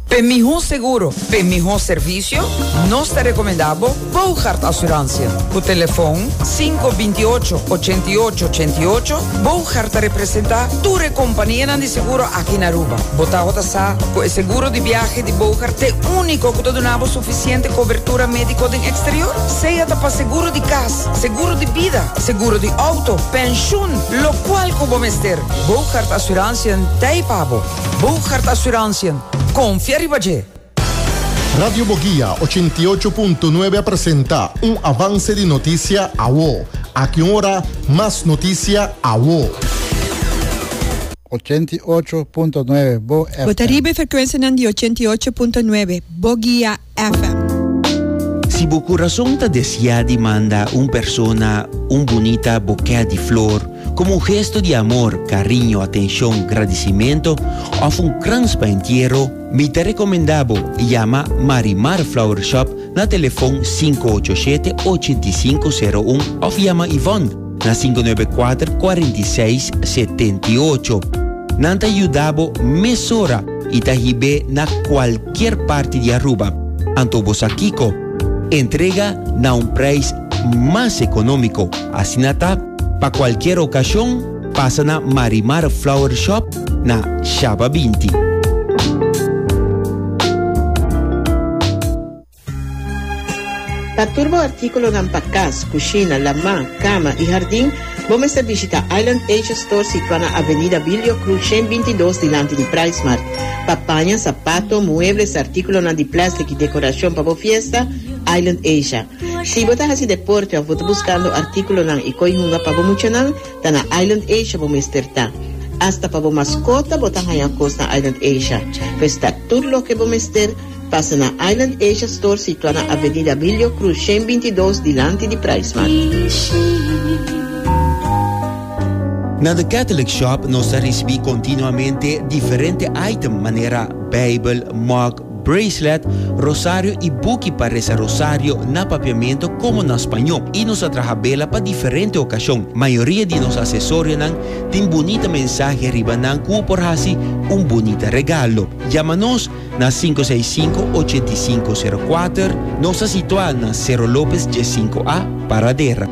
P'e mihó seguro, p'e mihó servisio, nos ta rekomendá bo Bougaard Assurantie. Ku telefon sinku 28 88 88, Bougaard ta representá tur e kompanianan di seguro aki na Aruba. Bo tabata sa ku e seguro di biahe di Bougaard t'e úniko ku ta duna bo sufisiente kobertura médiko den eksterior? Sea ta pa seguro di kas, seguro di bida, seguro di outo, penshun, lokual ku bo mester, Bougaard Assurantie t'ei pa bo. Bougaard Assurantie. Confia riba dje! Radio Boguia 88.9 a presenta un avance di noticia awo. Aki un ora, mas noticia awo. 88.9 Bo Bo ta FM. riba e frekuensianan di 88.9 Boguia FM. Si bo kurason ta deseá di manda un persona un bunita bokè di flor komo un gesto di amor, kariño, atenshon, gradisimentu òf un krans pa entiero, mi ta rekomendá bo yama Marimar Flower Shop na telefon sinku ocho shete 85 sero un òf yama Yvonne na 594 46 78. Nan ta yuda bo mesora y ta hib'é na cualkier parti di Aruba. Anto bo sa kico? Entrega na un prijs mas economico. Asina ta, pa cualkier ocasion, pasa na Marimar Flower Shop na Shaba 20. Pa tur bo artíkulonan pa kas, kushina, lamá, kama i hardin, bo mester bishita Island Asia Store situá na Avenida Bilio Cruz 122 dilanti di PriceMart. Pa paña, sapato, muebles, artíkulonan di plèstik i dekorashon pa bo fiesta, Island Asia. Si bo ta hasi deporte òf bo ta buskando artíkulonan i koi hunga pa bo muchanan, ta na Island Asia bo mester ta. Asta pa bo maskota bo ta haña kos na Island Asia. Pues ta tur loke bo mester. Pasa na Island Asia Store situa na Avenida Abilio Cruz 122 dilanti di PriceMart. Na The Catholic Shop nos ta ricibi continuamente diferente item manera Bijbel, mug, bracelet, rosario y buki pa reza rosario na papiamento como na spañó y nos ta traha bela pa diferente ocasion. Mayoria di nos acesorionan tin bunita mensahe riba nan cu por haci un bunita regalo. Yama nos Na 565 8504 nos ta situá na Cerro Lopez 15A, Paradera.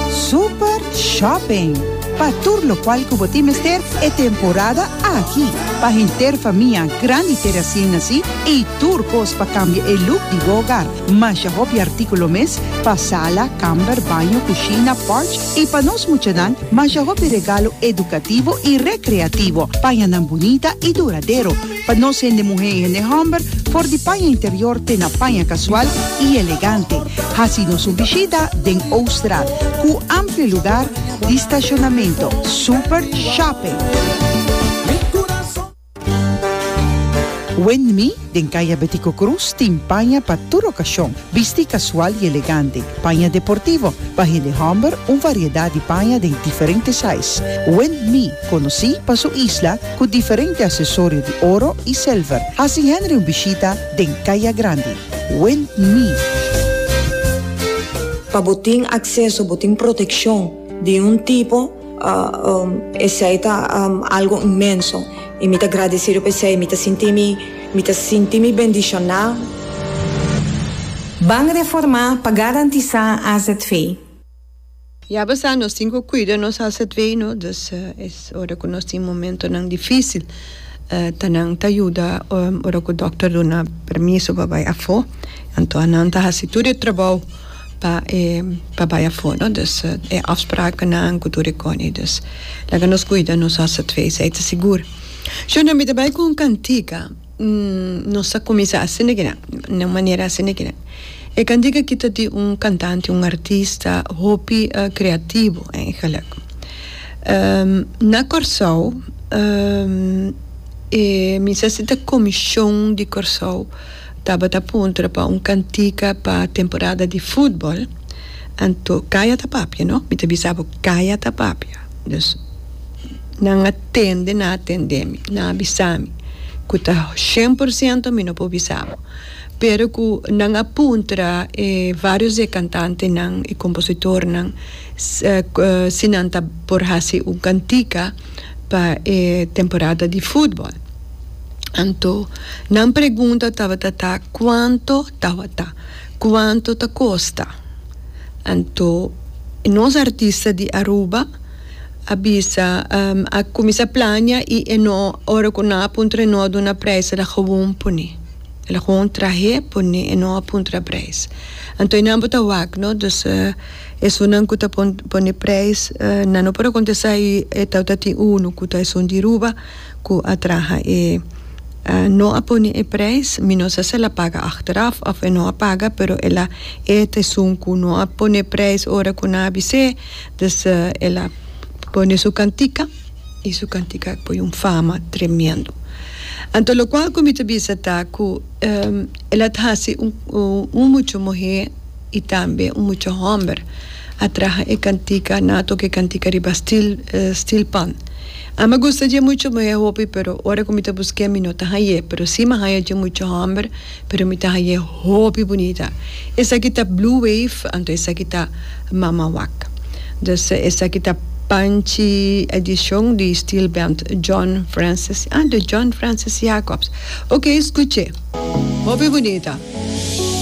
Super Shopping! Pa tur lokual ku bo tin mester e temporada aki. Pa henter famia grandi te resien nasí i tur kos pa kambia e look di bo hogar. Masha hopi artíkulo mes pa sala, kamber, baño, kushina, porch i pa nos muchanan masha hopi regalo edukativo i rekreativo, pañanan bunita i duradero pa nos hende muhé i hende hòmber, for di paña interior te na paña kasual i elegante. Hasi nos un bishita den Ooststraat ku amplio lugar di stashonamento. Super Shopping! Windme den Kaya Betico Cruz tin paña pa tur okashon, bisti kasual i elegante, paña deportivo, pa hende hòmber un variedat di paña den diferente size. Windme konosí pa su isla ku diferente asesorio di oro i silver. Hasi Henry un bishita den Kaya Grandi. Windme. Pa bo tin akseso, bo tin protekshon di un tipo. Esei ta algo inmenso y mi ta gradecido pa esei. Mi ta sinti mi, mi ta sinti mi bendiciona. Ban reformá pa garantisá azv. Ya bo sa nos tin ku kuida nos azv no, dus es ora ku nos tin momentonan difísil ta nan ta yuda ora ku dòkter duna permiso pa bai afó, anto nan ta hasi tur e trabou. Pa e pa bai afó no dus e afsprakennan ku tur e koni dus laga nos kuida nos azv esei ta sigur. Shona mi ta bai ku un kantika nos a kuminsá asina kinan na un manera asina kinan e kantika aki ta di un kantante un artista hopi kreativo eigenlijk na Kòrsou e mi sa si ta komishon di Kòrsou. Tabata puntra pa un kantika pa temporada di futbol, anto Kaya ta papia no, mi ta bisa bo Kaya ta papia, dus nan a tende nan a tende mi, nan a bisa mi ku ta shen por siento mi no por bisa bo, Pero ku nan a puntra e varios di e kantantenan i kompositornan si nan ta por hasi un kantika pa e temporada di futbòl. Anto nan pregunta tabata ta kuanto tabata, kuanto ta kosta. Anto nos artista di Aruba a bisa a kuminsá plania i e no ora ku nan a puntra e no a duna prijs el a gewoon pone. El a gewoon trahe pone e no a puntra prijs. Anto e nan bo ta wak no dus esunnan ku ta pone prijs nan no por a kontestá i e tabata tin unu ku ta esun di Aruba ku a traha e no a pone e prijs mi no sa si el a paga achteraf of e no a paga pero el a e ta esun ku no a pone prijs ora ku nan a bis'é dus el a pone su kantika. I su kantika a poi un fama tremendo. Anto lokual ku mi ta bisa ta ku el a hasi un mucha muhé i tambe un mucha hòmber a traha e kantika, nan a toka e kantika riba stil stilpan. Ami a gusta dje mucha muhé hopi pero ora ku mi ta busk'é mi no ta hañ'é, pero si mi a haña dje mucha hòmber pero mi ta hañ'é hopi bunita. Esaki ta Blue Wave, anto esaki ta Mama Wak. Dus esaki ta Panchi edicion di steel band John Francis, ah de John Francis Jacobs. Ok, scuche. Hopi bunita.